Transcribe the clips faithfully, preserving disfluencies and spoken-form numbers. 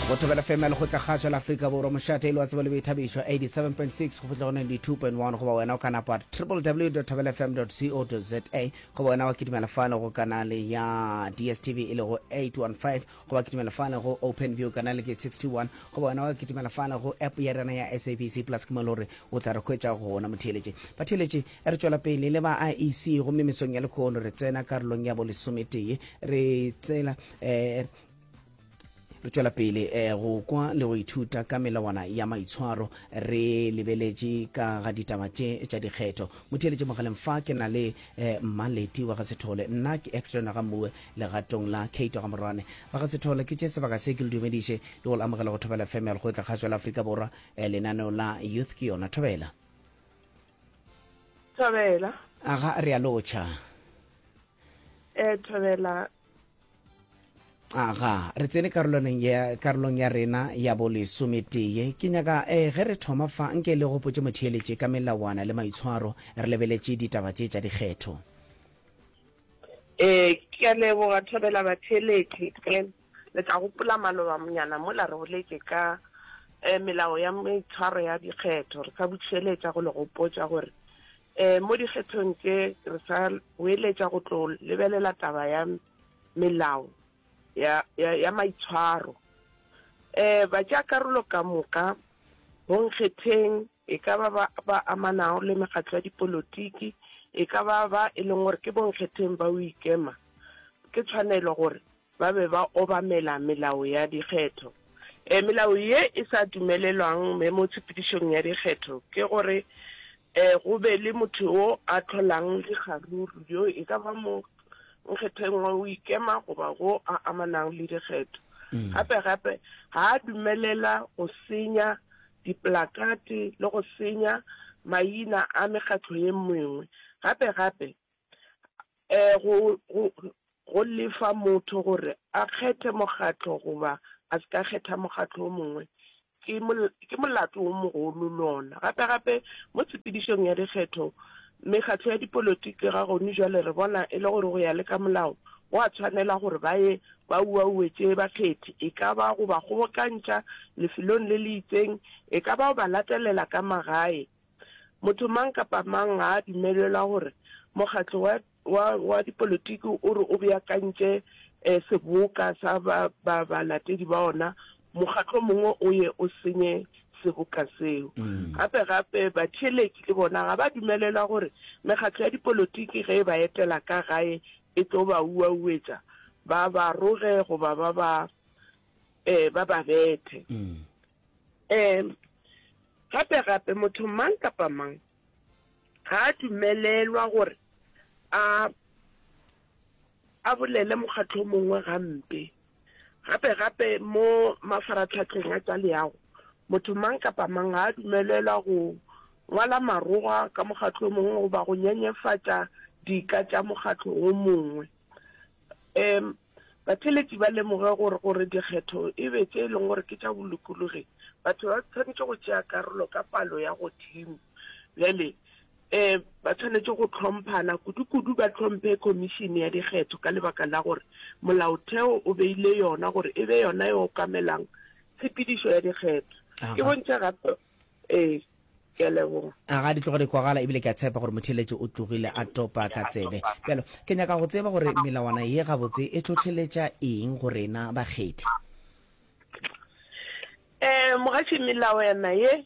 Go Thobela F M ya Lekgotlakgašo la Afrika Borwa, mošate e le wa tsebo le boithabišo, eighty seven point six go fihla go ninety two point one, goba wena o ka napa w w w dot thobela f m dot co dot za, goba wena wa kitimela fale go kanale ya D S T V e lego eight one five, goba kitimela fale go Open View kanale ke six two one, goba wena wa kitimela fale go app ya rena ya S A B C Plus, ke mo e le gore o tla re hwetša gona. Motheeletši, batheeletši, re tšwela pele le ba I E C, gomme mesong ya lekhono re tsena karolong ya bolesometee, re tsela eh, re tšwela pele eh, go kwa le go ithuta ka melawana ya maitshwaro, re lebeletše ka ga ditaba tše tša dikgetho. Motheeletši mogaleng fa ke na le eh, Mmaleti wa ga Sethole, nna ke Extern ga Mmuwe legatong la Kate wa ga Morwane. Ba ga Sethole, ke tše sebaka se ke le dumediše le go le amogela go Thobela F M ya Lekgotlakgašo la Afrika Borwa, eh, lenaneo la Youth ke yona. Thobela. Thobela. Aga, re a lotšha. Eh, Thobela. Aga, re tsene karolong ya, karolong ya rena ya bolesometee. Ke nyaka eh, ge re thoma fa nke le gopotše motheeletše ka melawana le maitshwaro, re lebeletše ditaba tše tša dikgetho. Eh, ke a leboga Thobela batheeletši. Le tla gopola maloba monyana mola re boletše ka eh, melao ya maitshwaro ya dikgetho. Re sa botšheletša go le gopotša gore eh, mo dikgethong tše re sa boeletša go tlo lebelela taba ya melao ya, ya, ya maitshwaro. Eh, batšeakarolo ka moka bonkgetheng e ka ba ba, ba amanago le mekgatlo ya dipolotiki, e ka ba ba e leng gore ke bonkgetheng ba o ikema, ke tshwanelo gore ba be ba obamela melao ya dikgetho. Eh, melao ye e sa dumelelwang me mo tshepedišong ya dikgetho ke gore eh, go be le motho o a tlholang dikgaruru, yo e ka ba mo nkgetheng wa o ikema goba go a amanang le dikgetho. Gape gape ga a dumelela go senya diplakate le go senya maina a mekgatlo ye mengwe. Gape gape eh, go, go, go lefa motho gore a kgethe mokgatlo goba a se ka kgetha mokgatlo o mongwe ke mol-, ke molato o mogolo lona. Gape gape mo tshepedišong ya dikgetho, mekgatlo ya dipolotiki ga gone jwale re bona e le gore go ya le ka molao go a tshwanela gore ba ye ba uauetše bakgethi, e ka ba go ba kgobokantšha lefelong le le itseng, e ka ba go ba latelela ka magae. Motho mang kapa mang ga a dumelelwa gore mokgatlo wa, wa, wa dipolotiki o re o beakantše, eh, seboka sa ba, ba, balatedi ba ona, mokgatlo mongwe o ye o senye seboka seo. Gape gape batheeletši le bona ga ba dumelelwa gore mekgatlo ya dipolotiki ge e ba etela ka gae e tlo ba uauetša, ba ba roge goba ba ba, eh, ba ba bethe. Eh, gape gape motho mang kapa mang ga a dumelelwa gore a, a bolele mokgatlo mongwe gampe. Gape gape mo mafaratlhatlheng a tša leago, motho mang kapa mang ga a dumelelwa go ngwala maroga ka mokgatlo o mongwe goba go nyenyefatša dika tša mokgatlo o mongwe. Em, batheeletši ba lemoge gore, gore dikgetho e be tše e leng gore ke tša bolokologi, batho ba tshwanetše go tšea karolo ka palo ya godimo. Bjale, eh, ba tshwanetše go hlomphana kudu-kudu, ba hlomphe khomišene ya dikgetho ka lebaka la gore molaotheo o beile yona gore e be yona e okamelang tshepedišo ya dikgetho. Ke bontšha gape, ee, ke a leboga. A ga di tloga di kwagala, ebile ke a tshepa gore motheeletši o tlogile a topa ka tsebe. Bjalo, ke nyaka go tseba gore melawana ye gabotse e hlohleletša eng go rena bakgethi? Eh, mogaši, melawana ye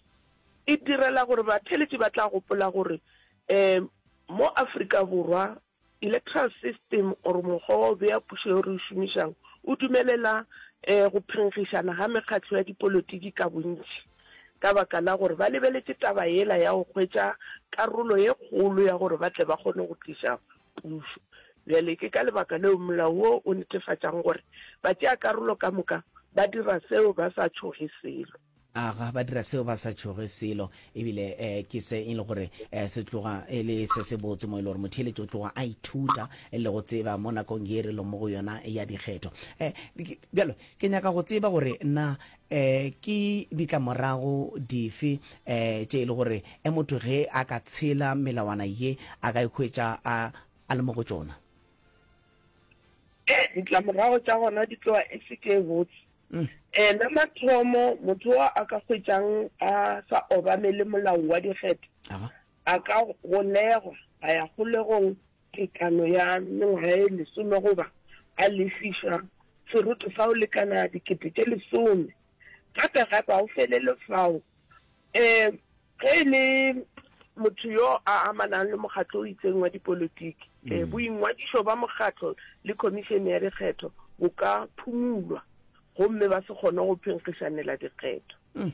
e direla gore batheeletši ba tla gopola gore, eh, mo Afrika Borwa electoral system or mokgwa wa go bea pušo yo re o šomišang o dumelela, eh, go phenkgišana ga mekgatlo ya dipolotiki ka bontši, ka baka la gore ba lebeletše taba yela ya go hwetša karolo ye kgolo ya gore ba tle ba kgone go tliša pušo. Bjale ke ka lebaka leo molao wo o netefatšang gore ba tšea karolo ka moka ba dira seo ba sa tšhoge selo. Aga, ba dira seo ba sa tšhoge selo, ebile, eh, ke se e le gore, eh, se tloga e le se se botse mo e le gore motheeletši o tloga a ithuta le go tseba mo nakong ye re leng mo go yona ya dikgetho. Eh, bjalo ke nyaka go tseba gore na, eh, ke ditlamorago dife, eh, tše e le gore, eh, motho ge a ka tshela melawana ye a ka ikhwetša a, a le mo go tšona. Eh, ditlamorago tša gona di tloga e se tše botse. Um la mathomo, motho yo a ka hwetšang a sa obamele molao wa dikgetho a ka golegwa a ya kgolegong tekano ya mengwaga e lesome goba a lefišwa seroto sa go lekana dikete tše lesome. Gape gape ga o felele fao. Um ge e le motho yo a amanang le mokgatlo o itseng wa dipolotiki, mm. boingwadišo ba mokgatlo le khomišene ya dikgetho bo ka phumulwa gomme ba se kgone go phenkgišanela dikgetho. Mm.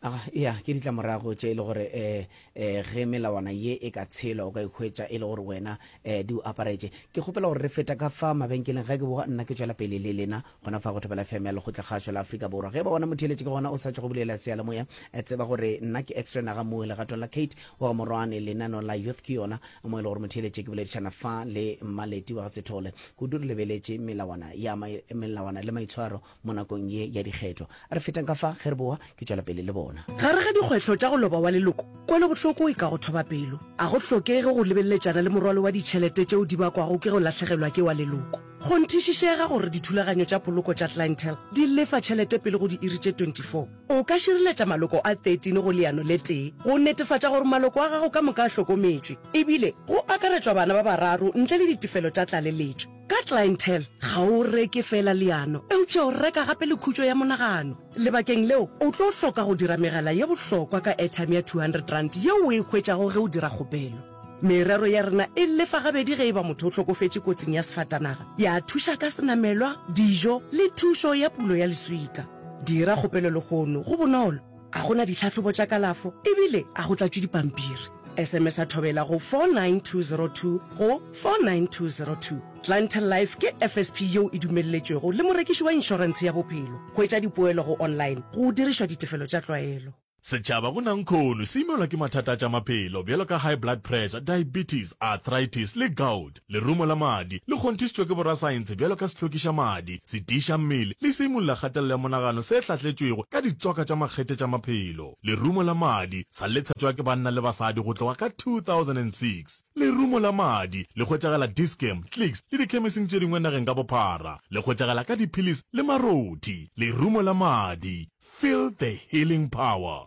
Aga, ya, ke ditlamorago tše e le gore um um ge melawana ye e ka tshelwa o ka ikhwetša e le gore wena um di o aparetše. Ke kgopela gore re feta ka fa mabenkeleng ge ke boga nna ke tšwela pele le lena gona fa go Thobela F M ya Lekgotlakgašo la Afrika Borwa. Ge e ba wena motheeletši ke gona o sa tšwa go bulela seyalemoya, tseba gore nna ke Extra Naga Moe legatong la Kate wa ga Morwane, lenaneo la Youth ke yona mo e le gore motheeletši ke boledišana fa le Mmaleti wa ga Sethole kudu re lebeletše melawana ya melawana le maitshwaro mo nakong ye ya dikgetho. A re fetang ka fa ge re boa ke tšwela pele le bona. Gare ga dikgwetlho tša go loba wa leloko, kwelobohloko e ka go thoba pelo. A go hlokege go lebeleletšana le morwalo wa ditšhelete tšeo di bakwago ke go lahlegelwa ke wa leloko. Kgonthišišega gore dithulaganyo tša poloko tša Clientele di lefa tšhelete pele go diiri tše twenty-four. O ka šireletša maloko a thirteen go leano le tee go netefatša gore maloko a gago ka moka a hlokometšwe, ebile go akaretšwa bana ba bararo ntle le ditefelo tša tlaleletšo. Ka Clientele, ga o reke feela leano, eupša o reka gape le khutšo ya monagano. Lebakeng leo, o tlo hloka go dira megala ye bohlokwa ka airtime ya two hundred rand yeo o e hwetšago ge o dira kgopelo. Merero ya rena e lefa gabedi ge e ba motho o hlokofetše kotsing ya sefatanaga, ya thuša ka senamelwa, dijo le thušo ya pulo ya leswika. Dira kgopelo lehono, go bonolo, ga go na ditlhahlobo tša kalafo ebile ga go tlatšwe dipampiri. S M S a Thobela go four nine two zero two go four nine two zero two. Clientele Life ke F S P yeo e dumelletšwego le morekiši wa inšorentshe ya bophelo. Hwetša dipoelo go online go dirišwa ditefelo tša tlwaelo. Setšhaba go nankhono se imelwa ke mathata a tša maphelo bjalo ka high blood pressure, diabetes, arthritis le gout. Lerumo la madi le kgonthišitšwe ke borasaense bjalo ka sehlokiša madi, setiiša mmele le seimolla kgatelelo ya monagano se hlahletšwego ka ditswaka tša makgethe tša maphelo. Lerumo la madi sa le tshetšwa ke banna le basadi go tloga ka two thousand and six. Lerumo la madi le hwetšagala Dis-Chem, Clicks le dikhemising tše dingwe nageng ka bophara. Le hwetšagala ka diphilisi le marothi. Lerumo la madi. Feel the healing power.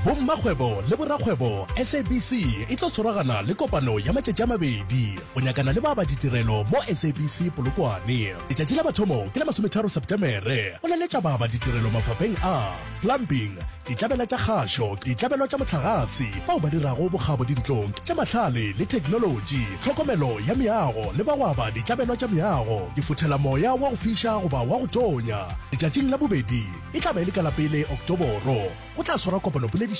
Bommakgwebo le borakgwebo, S A B C e tlo tshwaragana le kopano ya matšatši a mabedi go nyakana le ba ba ditirelo mo S A B C Polokwane. Letšatši la mathomo ke la masometharo Setemere go laletša ba ba ditirelo mafapheng a plumbing, ditlabela tša kgašo, ditlabelo tša mohlagase, bao ba dirago bokgabo dintlong tša mahlale le theknolotši, tlhokomelo ya meago le ba go aba ditlabelo tša meago, difothelamoya wa go fiša goba wa go tonya. Letšatšing la bobedi e tla ba e le ka la pele Oktoboro go tla swara kopanopoledišano.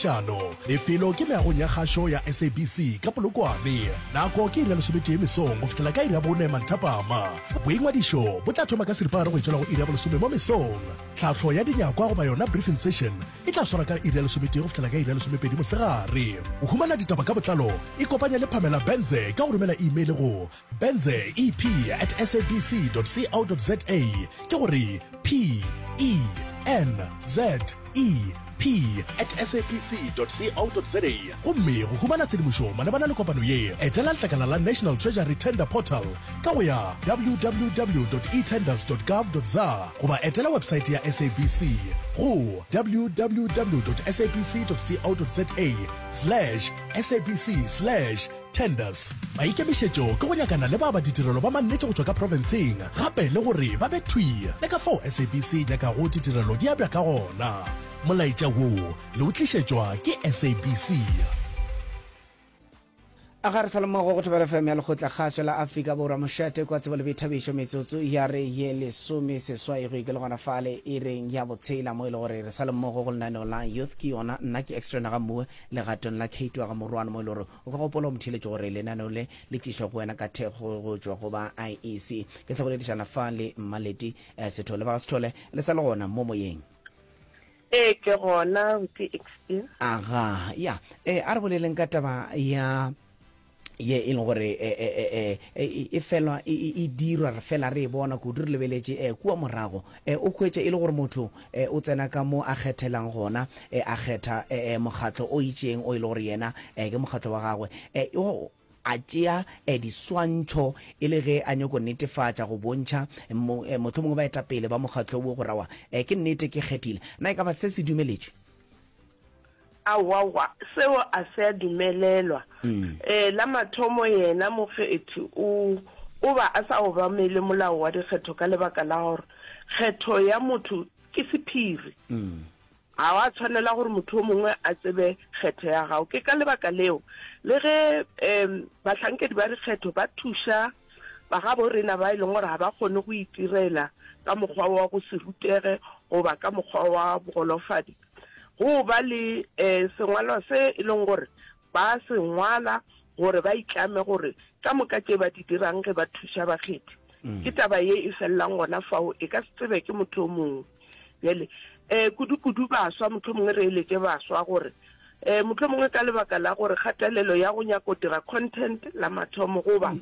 Lefelo ke meagong ya kgašo ya S A B C ka Polokwane. Nako ke iri ya lesometee mesong go fihlela ka iri ya bone manthapama. Boingwadišo bo tla thoma ka seripagare go etšwela go iri ya bolesome mo mesong. Tlhahlo ya dinyakwa goba yona briefing session e tla swara ka iri ya lesometee go fihlela ka iri ya lesomepedi mosegare. Go humana ditaba ka botlalo, ikopanye le Pamela Benze ka go romela email go benze e p at s a b c dot co dot za, ke gore P E N Z E P at s a b c dot co dot za. Gomme go humana tshedimošo malebana le kopano ye, etela letlakala la National Treasury Tender Portal ka go ya w w w dot e tenders dot gov dot za goba etela website ya S A B C go w w w dot s a b c dot co dot za slash s a b c slash tenders. Maikemišetšo ke go nyakana le ba ba ditirelo ba mannete go tšwa ka profenseng, gape le gore ba be thwi le ka fao S A B C nyakago ditirelo di abja ka gona. Molaetša wo le o tlišetšwa ke S A B C. A ga re sa le mmogo go Thobela F M ya Lekgotlakgašo la Afrika Borwa, mošate kwa tsebo le boithabišo, metsotso ya re ye lesome seswai go ikele gona fale e reng ya botshela, mo e le gore re sa le mmogo go lenaneo la Youth ke yona. Nna ke Extra Naga Mmuwe legatong la Kate wa ga Morwane, mo e le gore o ka gopola o motheeletše gore lenaneo le le tlišwa go wena ka thekgo go tšwa go ba I E C. Ke sa boledišana fa le Mmaleti eh, Sethole. Ba ga Sethole le sa le gona mo moyeng? Ee, ke gona ke X E. Aga, ya. Eh, a re boleleng ka taba ya ye e leng gore e e e felwa e dirwa re fela re e bona kudu re lebeletše eh, kua morago. Eh, o hwetše e le gore motho eh, o tsena ka mo a kgethelang gona, eh, a kgetha eh, mokgatlo o itšeng o e le gore yena eh, ke mokgatlo wa gagwe. Eh, o a tšea eh, diswantšho e le ge a nyoko netefatša go bontšha mo, eh, mohlomongwe baetapele ba mokgatlo wo go rawa eh, ke nnete ke kgethile. Na e ka ba se se dumeletšwe? Aowaowa, seo a se a dumelelwa. Eh, la mathomo yena mokgethi o, o ba a sa obamele molao wa dikgetho ka lebaka la gore kgetho ya motho ke sephiri. Ga wa tshwanela gore motho o mongwe a tsebe kgetho ya gago. Ke ka lebaka leo le ge um bahlankedi ba dikgetho ba thuša bagabo rena ba e leng gore ga ba kgone go itirela ka mokgwa wa go se rutege goba ka mokgwa wa bogolofadi, go ba le um sengwalwa se e leng gore ba se ngwala gore ba itlame gore ka moka tše ba di dirang ge ba thuša bakgethi ke taba ye e felelang gona fao, e ka se tsebe ke motho o mongwe. Bjale um kudu-kudu baswa, mohlomongwe re eletše baswa gore um mohlomongwe ka lebaka la gore kgatelelo ya go nyaka go dira content la mathomo goba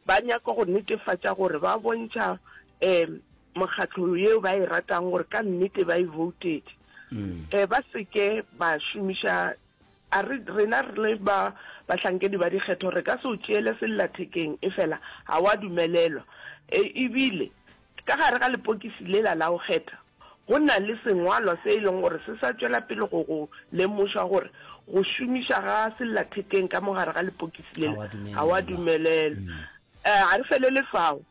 ba nyaka go netefatša gore ba bontšha um mokgatlo yeo ba e ratang gore ka nnete ba e voutetše, um ba se ke ba šomiša a re rena re le ba bahlankedi ba dikgetho re ka se o tšeele sellathekeng, efela ga wa dumelelwa. E, ebile ka gare ga lepokisi lela la go kgetha go na le sengwalwa se e leng gore se sa tšwela pele go go lemoša gore go šomiša ga sellathekeng ka mo gare ga lepokisi lela ga wa dumelelwa. Um ga re felele fao.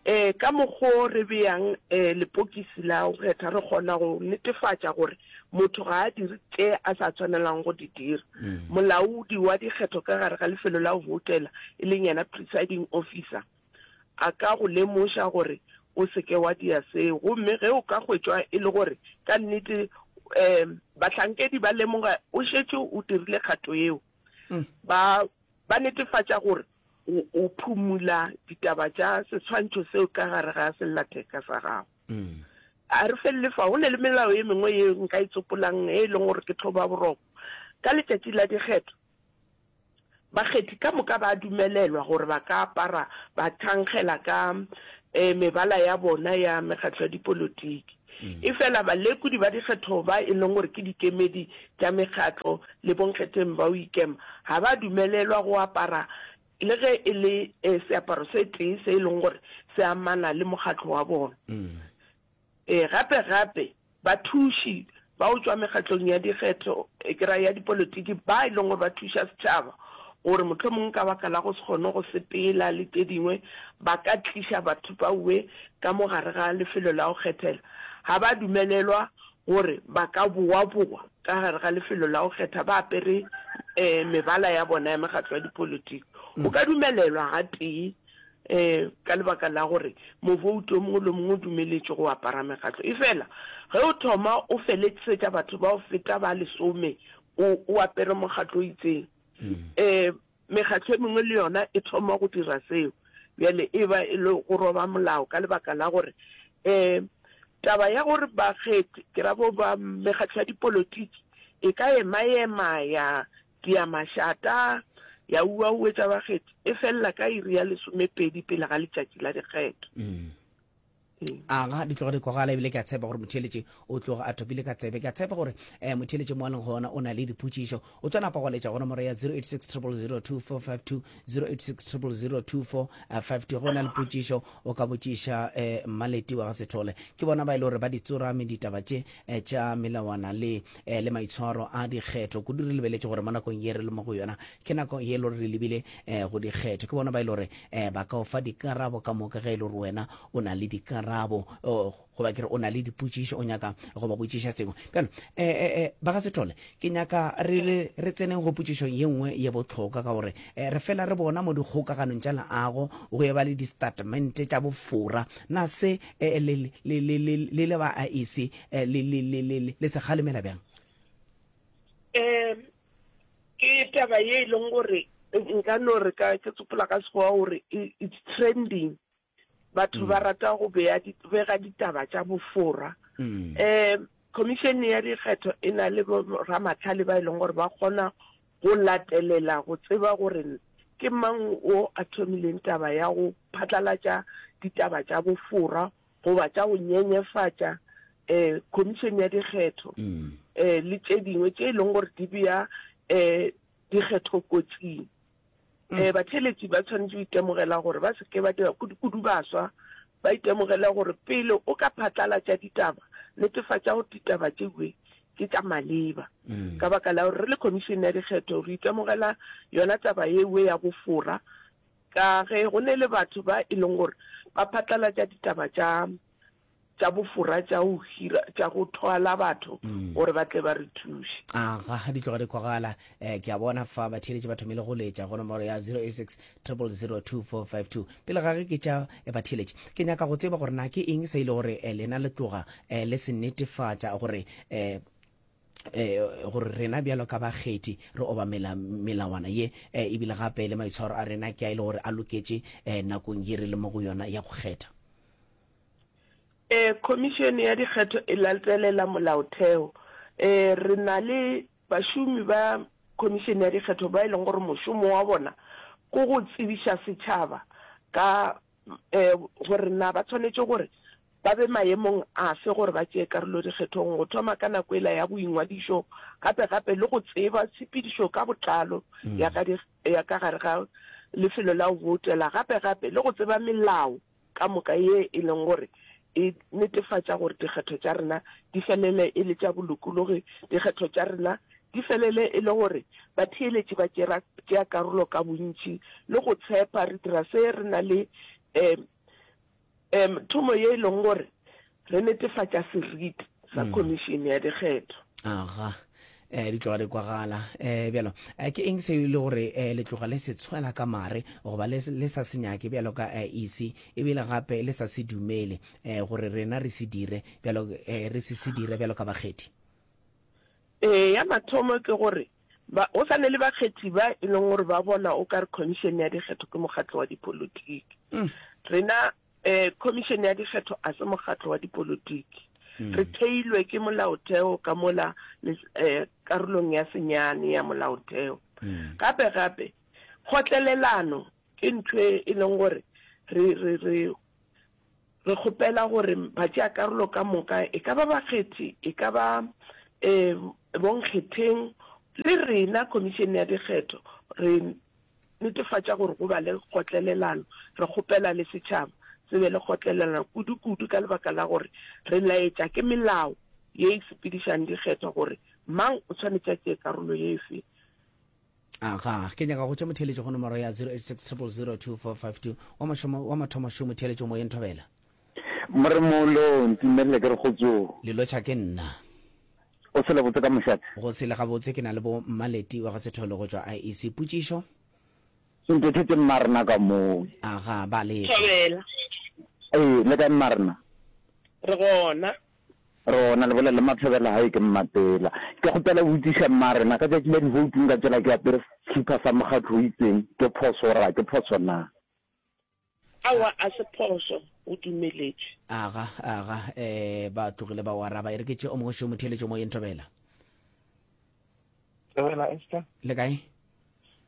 Um ka mokgo re beyang um lepokisi la go kgetha re kgona go netefatša gore motho ga a dire tše a sa tshwanelang go di dira. Molaodi wa dikgetho ka gare ga lefelo la go voutela, e leng yena presiding officer, a ka go lemoša gore o se ke wa dia seo. Gomme ge o ka hwetšwa e le gore ka nnete um bahlankedi ba lemoga o šetše o dirile kgato yeo, ba ba netefatša gore o o phumula ditaba tša seswantšho seo ka gare ga sellatheka sa gago. A re felele fa, go na le melao ye mengwe ye nka e tsopolang e leng gore ke thoba boroko. Ka letšatši la dikgetho, bakgethi ka moka ba dumelelwa gore ba ka apara ba thankgela ka um mebala ya bona ya mekgatlo ya dipolotiki. Efela balekodi ba dikgetho ba e leng gore ke dikemedi tša mekgatlo le bonkgetheng ba go ikema ga ba dumelelwa go apara le ge e le seaparo se tee se e leng gore se amana le mokgatlo wa bona. Ee, gape gape bathuši ba go tšwa mekgatlong ya dikgetho, ke ra ya dipolotiki, ba e leng gore ba thuša setšhaba gore mohlomongwe ka baka la go se kgone go sepela le tše dingwe ba ka tliša batho bawe ka mo gare ga lefelo la go kgethela, ga ba dumelelwa gore ba ka boa-boa ka gare ga lefelo la go kgetha ba apere um mebala ya bona ya mekgatlo ya dipolotiki. O ka dumelelwa gatee um ka lebaka la gore mobouti o mongwe le o mongwe o dumeletšwe go apara mekgatlo. Efela ge o thoma o felesetša batho ba go feta ba lesome o o apere mokgatlo o itseng, um mekgatlo e mengwe le yona e thoma go dira seo. Bjale e ba e le go roba molao ka lebaka la gore um taba ya gore bakgethi, ke ra bo ba mekgatlo ya dipolotiki, e ka ema-ema ya tia mašata, ya uauetša bakgethi, e felela ka iri ya lesomepedi pele ga letšatši la dikgetho. Aga, di tloga di kwagala, ebile ke a tshepa gore motheeletši o tloga a thopile ka tsebe. Ke a tshepa gore um motheeletši mo a leng gona o na le dipotšišo. O tlo napa go letša go nomoro ya zero eight six triple zero two four five two, zero eight six triple zero two four five two. Ge o na le potšišo o ka botšiša um Mmaleti wa ga Sethole. Ke bona ba e le gore ba di tsorame ditaba tše eh, tša melawana le eh, le maitshwaro a dikgetho. Kudu re lebeletše gore mo nakong ye re le mo go yona ke nako ye e le gore re lebile eh, go dikgetho. Ke bona ba e le gore eh, ba ka o fa dikarabo ka moka ge e le gore wena o na le dikarabo, oh, goba ke re o na le dipotšišo o nyaka go ba botšiša sengwe. Bjalo eh, eh, eh, ba ga Sethole, ke nyaka re re re tseneng go potšišong ye nngwe ye bohlokwa, ka gore eh, re fela re bona mo dikgokaganong tša leago go e ba le di-statement tša bofora. Na se eh, le le le le le le ba I E C eh, le le le le le se kgalemela bjang? Um ke taba ye e leng gore nka no re ka ke tsopola ka Sekgowa gore it's trending. Batho ba rata go bea bega ditaba tša bofora. Um Khomišene ya dikgetho e na le boramahlale ba e leng gore ba kgona go latelela go tseba gore ke mang wo a thomileng taba ya go phatlalatša ditaba tša bofora goba tša go nyenyefatša um khomišene ya dikgetho um le tše dingwe tše e leng gore di bea um dikgetho kotsing. Um batheeletši ba tshwanetše go itemogela gore ba se ke ba dira, kudu-kudu baswa, ba itemogele gore pele o ka phatlalatša ditaba, netefatša gore ditaba tšewe ke tša maleba. Ka baka la gore re le Khomišene ya Dikgetho re itemogela yona taba yewe ya bofora ka ge go ne le batho ba e leng gore ba phatlalatša ditaba tša tša bofora tša go hira, tša go thwala batho gore ba tle ba re thuše. Aga, di tloga di kwagala. Eh, ke a bona fa batheeletši ba thomile go letša go nomoro ya zero eight six triple zero two four five two. Pele ga ge ke tša eh, batheeletši, ke nyaka go tseba gore na ke eng se e le gore eh, lena le tloga eh, le se netefatša gore eh, eh, gore rena bjalo ka bakgethi re obamela melawana ye eh, ebile gape le maitshwaro a rena ke a e le gore a loketše eh, nakong ye re le mo go yona ya go kgetha. Ee, Khomišene ya Dikgetho e latelela Molaotheo. Ee, re na le bašomi ba Khomišene ya Dikgetho ba e leng gore mošomo wa bona ke go tsebiša setšhaba ka gore na ba swanetše gore ba be maemong afe gore ba tšee karolo dikgethong, go thoma ka nako yela ya boingwadišo, gape-gape le go tseba tshepedišo ka botlalo ya ka ya ka gare ga lefelo la go boutela, gape-gape le go tseba melao ka moka ye e leng gore e netefatša gore dikgetho tša rena di felele e le tša bolokologi, dikgetho tša rena di felele e le gore batheeletši ba tšera tšea karolo ka bontši le go tshepa. Re dira se re na le um um thomo ye e leng gore re netefatša seriti sa Khomišene ya Dikgetho. Aga, eh, di tloga di kwagala. Eh, bjalo, eh, ke eng se e le gore eh, le tloga le se tshwela ka mare goba le, le sa se nyake bjalo ka eh, E C, ebile gape le sa se dumele eh, gore rena re se dire bjalo, eh, re se se dire bjalo ka bakgethi? Ee, ya mathomo ke gore ba, go sa ne le bakgethi ba e leng gore ba bona o ka re Khomišene ya Dikgetho ke mokgatlo wa dipolotiki. Rena, eh, Khomišene ya Dikgetho a se mokgatlo wa dipolotiki. Re theilwe ke molaotheo ka mola le, eh, karolong ya senyane ya molaotheo. Gape, gape, kgotlelelano ke ntho e e leng gore re, re, re, re kgopela gore batšeakarolo ka moka, e ka ba bakgethi, e ka ba, eh, bonkgetheng, le rena Khomišene ya Dikgetho, re netefatša gore go ba le kgotlelelano. Re kgopela le setšhaba se be le kgotlelelano, kudu-kudu ka lebaka la gore re laetša ke melao ye e sepedišang dikgetho gore mang o swanetše a tšee karolo ye efe. Aga, ke nyaka go tše motheeletši go nomoro ya zero eight six triple zero two four five two. Wa mašomo, wa mathomo šo motheeletši o moyeng Thobela. Moremolo, ntumelele ke re kgotsong. Le lotšha ke nna. O sele botse ka mošate? Go sele gabotse, ke na le bo Mmaleti wa ga Sethole go tšwa I E C. Potšišo? Ntethetše mmarena ka moo. Aga, ba le kwa. Thobela. Ee, le kae mmarena? Re gona. Re gona, le bolela le Mathobela gae ke Mmatela. Ke kgopela go botšiša mmarena, ka tšatši la divoutu nka tšwela ke apere sekhipha sa mokgatlo o itseng, ke phoso or ga ke phoso na? Aowa, a se phoso, o dumeletšwe. Aga, aga, eh, ba tlogile ba o araba. E re ke tše o mongwe šo motheeletši o moyeng Thobela. Thobela, Esther. Le kae?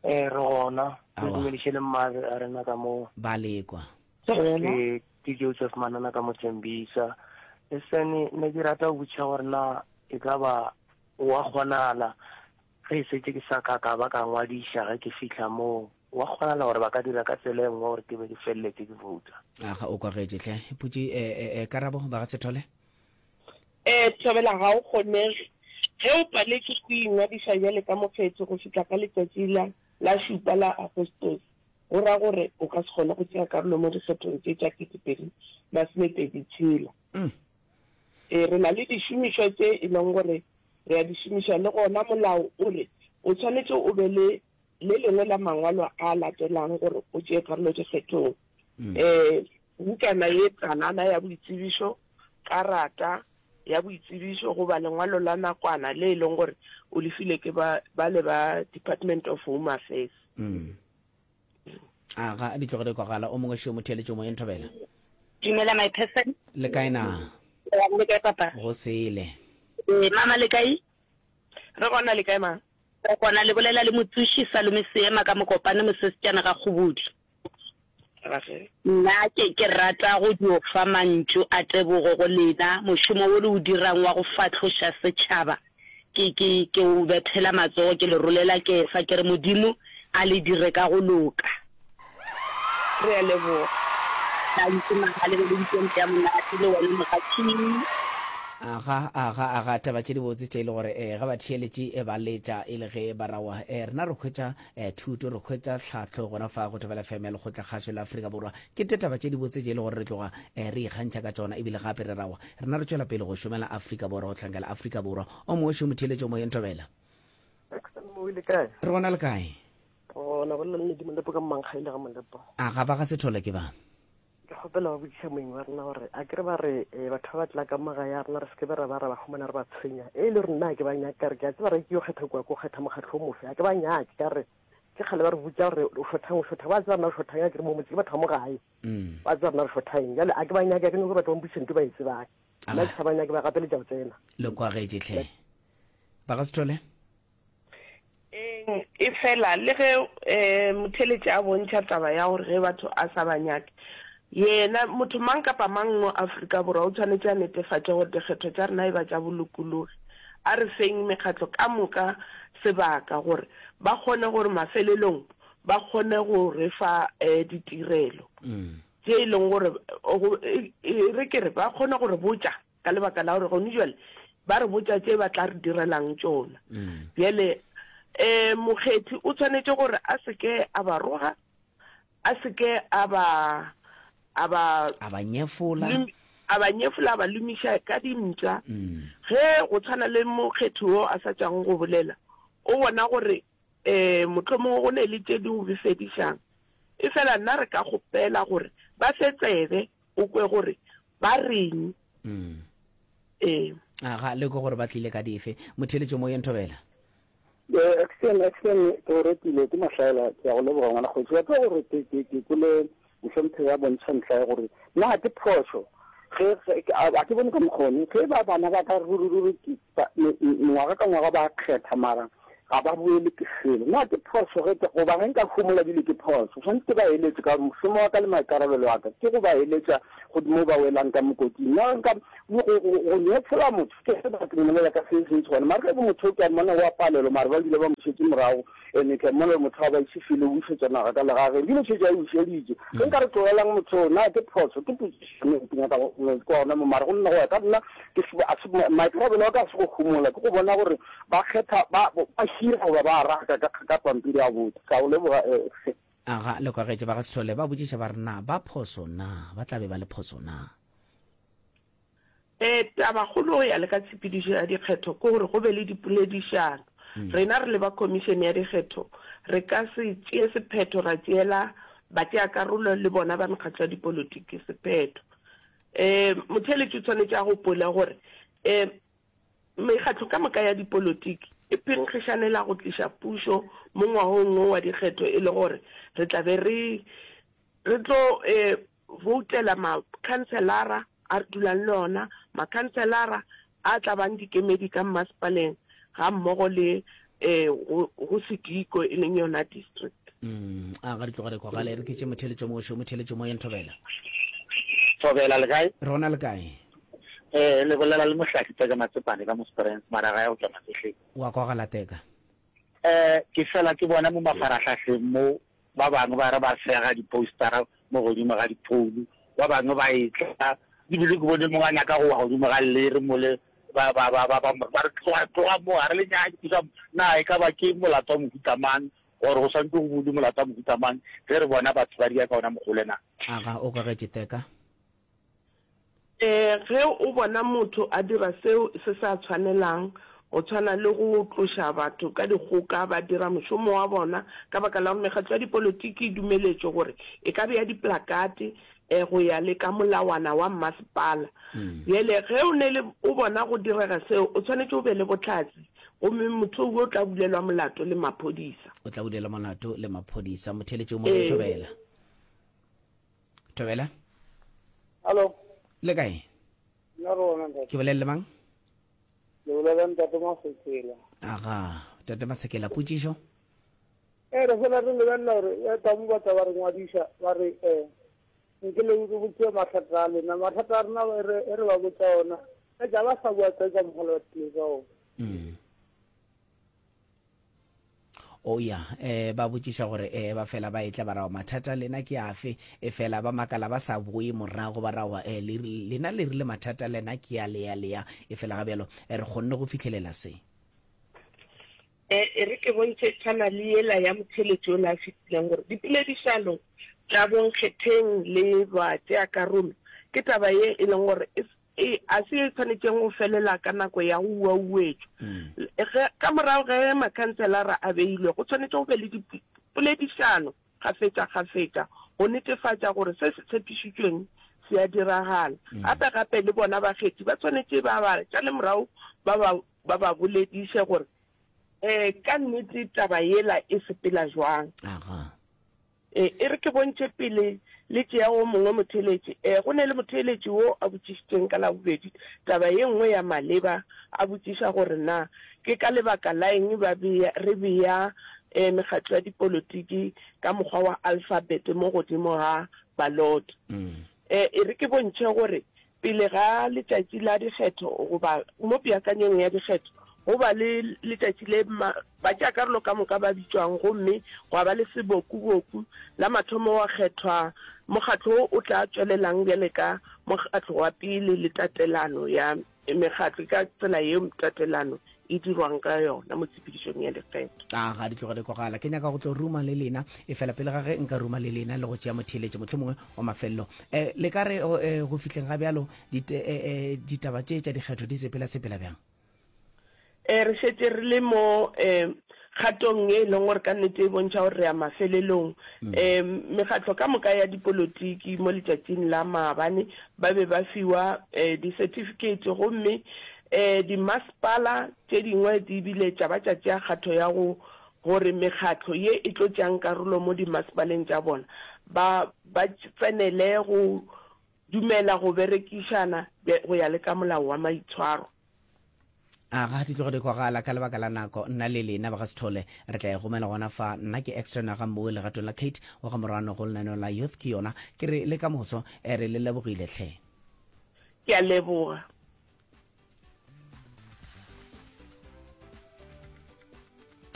Eh, re gona. Re Aowa. dumediše le mmage a rena ka moo. Ba lekwa. Thobela. Ke, ke Joseph Manana ka Mothembisa. Esene, ne ke rata go botšiša gore na e ka ba wa kgonagala ge e setše ke sa ka ka ba ka ngwadiša ge ke fihla moo, wa kgonagala gore ba ka dira ka tsela e nngwe gore ke be ke feleletše ke vouta? Aga, o kwagetše hle. Putši, eh, eh, eh, karabo, ba ga Sethole? Eh, Thobela, ga o kgonege. Ge o paletšwe ke go ingwadiša bjale ka mokgethi go fihla ka letšatši la la šupa la Agostose, go ra gore o ka se kgone go tšea karolo mo dikgethong tše tša kete pedi masomepedi tshela. Ee, re na le dišomišwa tše e leng gore re a di šomiša, le gona molao o re o swanetše o be le le lengwe la mangwalo a latelang gore o tšee karolo dikgethong. Ee, bukana ye talana ya boitsebišo, karata ya boitsebišo goba lengwalo la nakwana le e leng gore o le file ke ba bale ba Department of Home Affairs. A ga di tloge di kwagala. O mongwe šo motheeletši o moyeng Thobela. Dumela my person. Le kae na? Le kae papa? Go sele. Ee, mama le kae? Re gona, le kae ma? Re gona, le bolela le Motsoši Salome Seema ka Mokopane Mosesejana ga Kgobodi. Rage. Nna ke, ke rata go dio fa mantšu a tebogo go lena, mošomo wo le o dirang wa go fahloša setšhaba. Ke, ke, ke o bethela matsogo, ke le rolela kefa, ke re Modimo A le dire ka go loka. Re a leboga. Thanki Magale be le weekend ya monate le wena Mogatšhing. Aga, aga, aga, taba tše dibotse tše e le gore eh, ge batheeletši eh, ba letša e le ge ba rawa eh, rena re hwetša eh, thuto, re hwetša tlhahlo gona fa go Thobela F M ya Lekgotlakgašo la Afrika Borwa. Ke te taba tše dibotse tše e le gore re tloga eh, re ikgantšha ka tšona ebile gape re rawa. Rena re tšwela pele go šomela Afrika Borwa, go hlankela Afrika Borwa. O mongwe šo motheeletši o moyeng Thobela. O ile kae? Re gona le kae? Gona bolela le Medimo Lepo ka Mmankgaile ga Molepo. A ga ba ga Sethole ke ba? Ke kgopela go botšiša moeng wa rena gore a kere ba re eh, batho ba ba tla ka mo gae ya rena re se ke be ra ba ra ba humana re ba tshwenya. E le gore nna ke ba nyake ka re ke a tseba re ke yo kgetha kua ko kgetha mokgatlo o mofe a ke ba nyake ka re ke kgale ba re botša gore o šothang o šothang ba tseba rena re šothang a kere mo motse ke batho ba mo gae ba tseba rena re šothang jale a ke ba nyake a ke nyake gore batho ba mpotšiše ntho ba e tsebang nna ke sa ba nyake ba gapeletša go tsena. Le kwagetše hle. Ba ga Sethole? Eng, efela le ge um motheeletši a bontšha taba ya gore ge batho a sa ba nyake, yena, motho mang kapa mang mo Afrika Borwa o tshwanetše a netefatše gore dikgetho tša rena e ba tša bolokologi. A re feng mekgatlo ka moka sebaka gore ba kgone gore mafelelong ba kgone go re fa um ditirelo tše e leng gore, e re ke re, ba kgone go re botša ka lebaka la gore gone jwale ba re botša tše ba tla re direlang tšona. Bjale um mokgethi o tshwanetše gore a se ke a ba roga, a se ke a ba, a ba, A ba nyefola. a ba nyefola, a ba lomiša ka dimpša. Ge go tshwana le mokgethi wo a sa tšwago go bolela, o bona gore um mohlomongwe go ne le tše di o befedišang, efela nna re ka kgopela gore ba fe tsebe o kwe gore ba reng. Ee. Aga le kwe gore ba tlile ka dife. Motheeletši moyeng Thobela. Eh, Action, action, ke o retile, ke Mahlaela, ke a go leboga ngwana kgoši. Wa tseba gore ke, ke, ke kwele mohlomphegi ya bontšha ntlha ya gore na ke phošo ge, ge, ke, a, a ke bone ka mokgone ge ba bana ba ka ruri, ruri, ke, ba, me, me, ngwaga ka ngwaga ba kgetha mara ga ba boele ke selo. Na ke phošo ge ke, goba ge nka homola bile ke phošo. Tshwanetse ke ba eletše ka gore mošomo wa ka le maikarabelo a ka ke go ba eletša godimo ba welang ka mokoting. Na nka go, go, go, go nyefola motho ke se ba ke mmolela ka se sentši gone. Mara ge motho o ke a mmona wa palelo, mara ba bile ba mo šetše morago, ene ke a mmona gore motho ga ba iše felo, o bušetša naga ka legageng. Ebile šetše a e bušeditše. Ge nka re tlogelang motho o, na ke phošo? Ke potšišo mme ke nyaka go kwa gona mo. Mara go nna go ya ka nna, ke se, a se, maikarabelo a ka a se go homola, ke go bona gore ba kgetha, ba, ba hira goba ba raka ka, ka pampiri ya botse. Ka go leboga, eh, Aga, le kwagetše ba ga Sethole ba botšiša ba re na ba phoso na, ba tla be ba le phoso na? Eh, tabakgolo go ya le ka tshepedišo ya dikgetho ke gore go be le dipoledišano. Rena re le ba Khomišene ya Dikgetho re ka se tšee sephetho ra tšeela batšeakarolo le bona ba mekgatlo ya dipolotiki sephetho. Eh, motheeletši o tshwanetše a gopole gore eh, mekgatlo ka moka ya dipolotiki e phenkgišanela go tliša pušo mo ngwagong wo wa dikgetho e le gore re tla be re, re tlo eh, voutela makhanselara a re dulang le ona, makhanselara a tla bang dikemedi ka mmasepaleng ga mmogo le eh, go, go sediko e leng yona district. Mm, a ga di tloga re kwagale, re ke tše motheeletšo mošo, motheeletšo moyeng Thobela. Thobela le kae? Re gona le kae? Eh, le bolela le mohlahli Teka Matsepane ka mo Springs, mara ga ya go tšwa Matsehleng. Wa kwagala Teka? Eh, ke fela ke bona mo mafarahlahleng mo ba bangwe ba re ba sega dipostara mo godimo ga diphoulo, ba bangwe ba etla, ebile ke bone mongwe a nyaka go wa godimo ga lere mole, ba, ba, ba, ba, ba, ba re tloga, tloga mo, ga re le nyake. Ke sa, na e ka ba ke molato wa mohuta mang, gore go swantse go bulwe molato wa mohuta mang ge re bona batho ba dia ka ona mogole na? Aga, o kwagetše Teka? Eh, ge o bona motho a dira seo se sa tshwanelang, go tshwana le go tloša batho ka dikgoka ba dira mošomo wa bona ka baka la gore mekgatlo ya dipolotiki e dumeletšwe gore e ka bea diplakate eh, go ya le ka molawana wa mmasepala. Bjale ge o ne le o bona go direga seo, o tshwanetše o be le bohlatse, gomme motho o tla bulelwa molato le maphodisa. O tla bulelwa molato le maphodisa. Motheeletši o mongwe, Ee. Thobela. Thobela. Hallo. Le kae? Nna re gona, ntate. Ke bolele le mang? Le bolela ntate Masekela. Aga, tate Masekela, potšišo? Eh, re fela re lebelela gore, eh, ka mo ba tla ba re ngwadiša, ba re, eh, nke le re botse mathata a lena. Mathata a rena e re, e re ba botsa ona. E tla ba sa bua tse ka mogolo wa tlile ka ona. Mm. O ya, eh, ba botšiša gore eh, ba fela ba etla ba ra mathata lena ke afe, e fela ba makala ba sa boe morago ba ra eh, le, lena le rile mathata lena ke a lea lea, e fela ga bjalo eh, re kgonne go fihlelela se. E, e re ke bontšhe tshwana le yela ya motheeletši yola a fetileng gore dipoledišano tša bonkgetheng le batšeakarolo ke taba ye e leng gore e, e, a se ye e swanetšeng go felela ka nako ya go uauetšwa. Ge, ka morago ge makhanselara a beilwe, go swanetše go be le dipoledišano kgafetšakgafetša go netefatša gore se se tshepišitšweng se a diragala. Gape gape le bona bakgethi ba swanetše ba ba šale morago ba ba, ba ba bolediše gore Ee, ka nnete taba yela e sepela jwang? Aga. Ee, e re ke bontšhe pele le tšea wo mongwe motheeletši. Ee, go ne le motheeletši wo a botšišitšeng ka Labobedi taba ye nngwe ya maleba, a botšiša gore na ke ka lebaka la eng ba bea, re bea e, mekgatlo ya dipolotiki ka mokgwa wa alfabete mo godimo ga baloto. Ee, e re ke bontšhe gore Pele ga letšatši la dikgetho goba mo peakanyong ya dikgetho, go ba le letšatši le batšeakarolo ka moka ba bitšwang gomme gwa ba le sebokuboku. La mathomo gwa kgethwa mokgatlo wo o tla tšwelelang bjale ka mokgatlo wa pele le tatelano ya mekgatlo. Ke ka tsela yeo tatelano e dirwang ka yona mo tshepedišong ya dikgetho. A ga di tloge di kwagala. Ke nyaka go tlo ruma le lena, efela pele ga ge nka ruma le lena le go tšea motheeletši mohlomongwe wa mafelelo, eh, le ka re eh, go fihleng ga bjalo dite, eh, eh, ditaba tše tša dikgetho di sepela-sepela bjang? Eh, re šetše re le mo eh, kgatong ye e leng gore ka nnete e bontšha gore re ya mafelelong. Eh, mekgatlo ka moka ya dipolotiki mo letšatšing la maabane ba be ba fiwa eh, di-certificate gomme eh, dimasepala tše dingwe di bile tša ba tša tšea kgatho ya go gore mekgatlo ye e tlo tšeang karolo mo dimasepaleng tša bona ba ba tsenele go dumela go berekišana go ya le ka molao wa maitshwaro. A ga di tloge di kwagala ka lebaka la nako? Nna le lena ba ga Sithole re tla e gomela gona fa. Nna ke Extra Naga Mmoe legatong la Kate wa ga Morwano go lenaneo la Youth ke yona. Ke re le ka moso re le lebogile hle. Ke a leboga.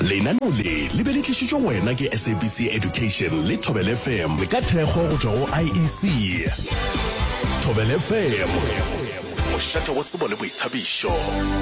Lenaneo le le be le tlišitšwe go wena ke S A B C Education le Thobela F M ka thekgo go tšwa go I E C. Thobela F M, mošate wa tsebo le boithabišo.